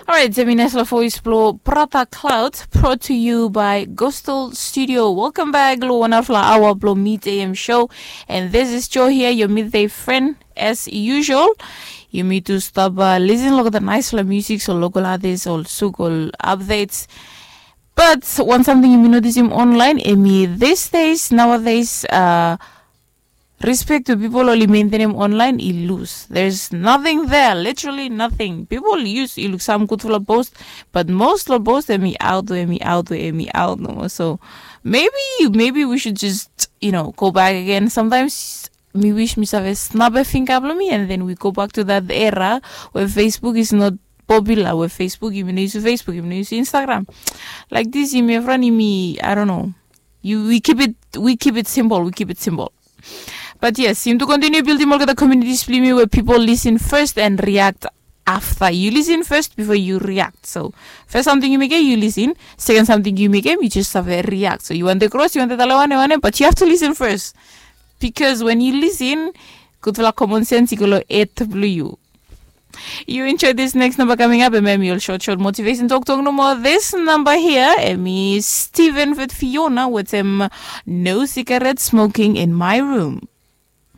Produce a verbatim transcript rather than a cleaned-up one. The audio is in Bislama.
Alright, hemi naisfala voes blong Brother Cloud, brought to you by Ghostal Studio. Welcome back long wan narafala aoa blong Midday A M show. And this is Joe here, your midday friend, as usual. Yumi tu stap uh, listen long the naisfala music, so local artists, ol suk, ol updates. But wan samting yumi notisim online, hemi these days, nowadays, uh, respect we pipol oli mentenem online i lus. There's nothing there, literally nothing. Pipol yus, i luk sam gudfala post, but most long post hemi aot we hemi aot we hemi aot nomo. So maybe, maybe we should just, you know, go back again. Sometimes mi wis mi save snap a finger blong mi, and then we go back to that era where Facebook is not popular, where Facebook, yumi no yusim Facebook, yumi no yusim Instagram. Like this, yumi evriwan yumi, I don't know. You, we keep it, we keep it simple, we keep it simple. But yes, yumi tu continue buildim olgeta communities blong yumi where people listen first and react after. You listen first before you react. So first samting yu mekem, yu listen. Second samting yu mekem, yu just save react. So yu wantem kros, yu wantem talem wanem wanem, but you have to listen first. Because when you listen, gudfala common sense i go long head blong yu. You enjoy this next number coming up, and maybe you'll short, short motivation talk, talk no more. This number here, hemi Steven with Fiona with him, no cigarette smoking in my room.